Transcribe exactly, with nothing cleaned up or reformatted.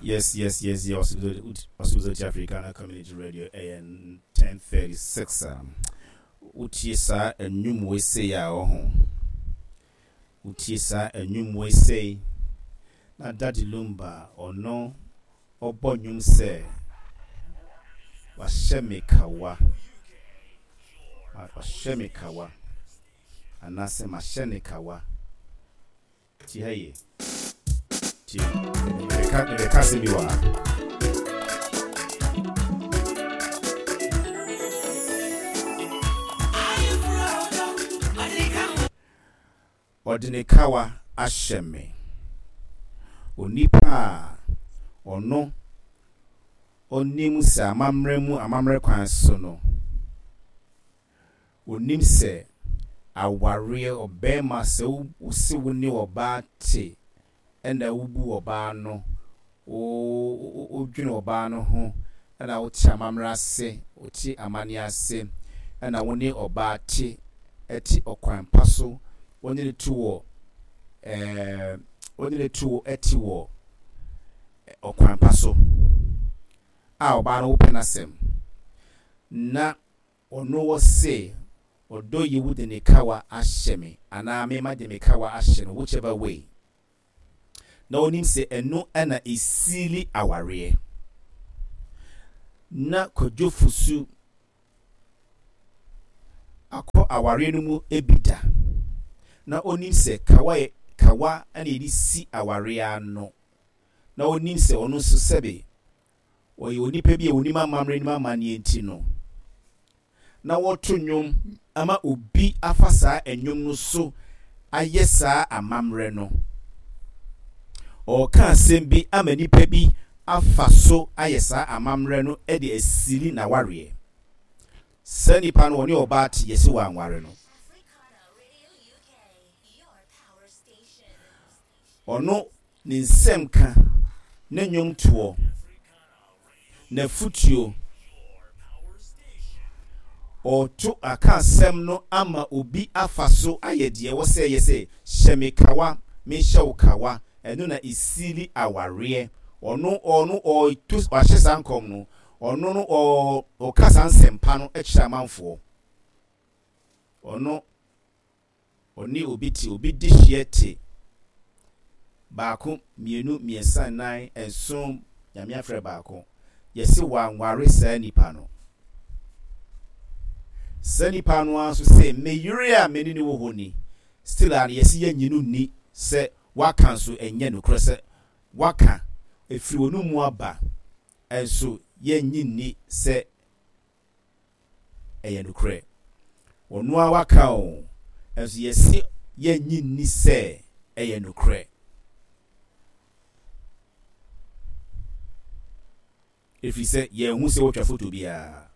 Yes, yes, yes, yes. Ɔsibizoti Africana Community Radio, ɛyɛ ten thirty six. Um, wotie saa nnwom wei sei a ɔho. Wotie saa nnwom wei sei na Daddy Lumba ɔno ɔbɔ nnwom sɛ wahyɛ me kawa, wahyɛ me kawa anaasɛ mahyɛ ne kawa. Tie ha yie. Tie. Mebɛka mebɛka asɛm bi wɔ ha. Ɔde ne kawa ahyɛ me. Onipa a ɔno ɔnim sɛ amammerɛ mu amammerɛ kwan so no, onim sɛ awareɛ ɔbɛrima sɛ wo wo ne ɔbaa te ɛna wobu ɔbaa no, wo wodwene ɔbaa no ho, ɛna wote amammerɛ ase, wote amanneɛ ase, ɛna wo ne ɔbaa te ɛte ɔkwan pa so, wɔne ne to wɔ ɛɛ wɔne ne to ɛte wɔ ɔkwan pa so a ɔbaa no wopɛ n'asɛm na ɔno wɔ se ɔdɔ yi wo de ne kawa ahyɛ me anaa mema de me kawa ahyɛ no, whichever way, na onim sɛ ɛno ɛna esili awareɛ. Na Kwadwo Fosu akɔ awareɛ no mu ebi da na onim sɛ kawa yɛ kawa ɛna yɛde si awareɛ ano, na onim sɛ ɔno nso sɛbe ɔyɛ onipa bi a onim amammerɛ, nim amanneɛ, nti no na wɔto nnwom ama obi afa saa nnwom no so ayɛ saa amammerɛ no. Ɔreka asɛm bi ama nipa bi afa so ayɛ saa amammerɛ no de asili n'awareɛ. Saa nipa no, ɔne ɔbaa te, yɛsi wɔ anware no. Africana Radio U K, your power station. Ɔno ne nsɛm ka ne nnwomtoɔ n'afutuo, ɔto aka asɛm no ama obi afa so ayɛ deɛ ɛwɔ sɛ yɛ sɛ hyɛ me kawa, menhyɛ wo kawa, ɛno na esili awareɛ. Ɔno ɔno ɔto wahyɛ saa nkɔm no, ɔno no ɔ ɔka saa nsɛmpa no kyerɛ amanfoɔ. Ɔno ɔne obi te, obi di hyeɛ te baako, mmienu, mmiɛnsa, nnan, nson, Nyame afrɛ baako, yɛsi wanware saa nipa no. Saa nipa no ara nso sɛ me yere a me ne ne wɔ hɔ ni, still a yɛsi yɛnyi no ni sɛ waka nso ɛnyɛ nokorɛ sɛ waka efiri wɔn mu aba nso, yɛnyi nni sɛ ɛyɛ nokorɛ. Ɔno a waka o nso, yɛsi yɛnyi nni sɛ ɛyɛ nokorɛ, ɛfiri sɛ yɛn ho sɛ wɔtwa foto biara.